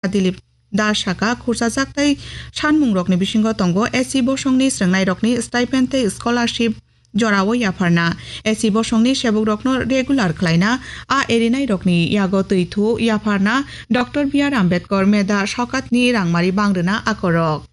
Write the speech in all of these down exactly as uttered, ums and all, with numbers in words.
Dilip Das saka, khurchajak tei sanmungrokni bisingo tongo A C bosongni srwngnairokni stipend tei scholarship jorao yapharna, A C bosongni sebukrokno regular khlaina, a erinairokni yago twi thu yapharna, Doctor B R Ambedkar Medha Sokatni rangmari bangrwna akorok.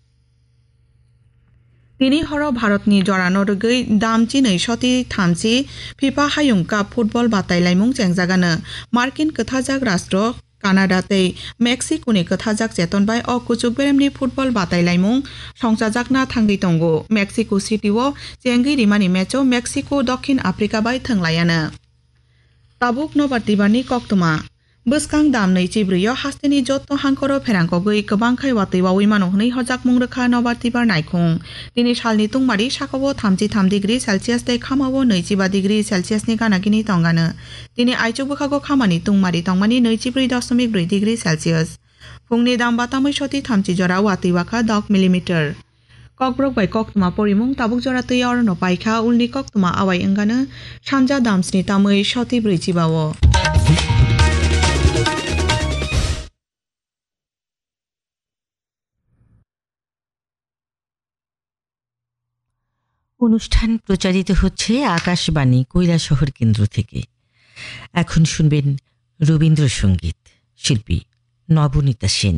Tini horo Bharatni jorano rwgwi dam chinwi soti thamchi FIFA Hayung Cup football batai laimung chengjagano. Markin kwthajak rastro Canada tei Mexico ni kwthajak cheton bai o kuchuk beremni football batai laimung songchajakna thangwi tongo. Mexico City o chengwi rimani match o Mexico Dokhin Africa bai thwnglaiano. Tabuk nobar tibarni koktwma. Bwskang dam nwi chibrwi o hasteni jotto hangkoro pherangkogwi kwbang khai watwi wawi mano hwnwi hojakmung rwkha nobar tibar naikhung. Tini salni tungmari sakao thamchi tham degree Celsius tei khamao nwi chiba degree Celsius ni gana gini tongano. Tini aichuk bwkhago khamani tungmari tongmani nwi chibrwi doshomik brwi degree Celsius. Phungni dam batamwi soti thamchi jora watwi wakha dok millimeter. Kokborok bai koktwma porimung tabuk jora twi orono paikha, ulni koktwma awai wngano sanja damsni tamwi soti brwi chibao. অনুষ্ঠান প্রচারিত হচ্ছে আকাশবাণী কৈলাসহর কেন্দ্র থেকে। এখন শুনবেন রবীন্দ্রসঙ্গীত, শিল্পী নবনীতা সেন।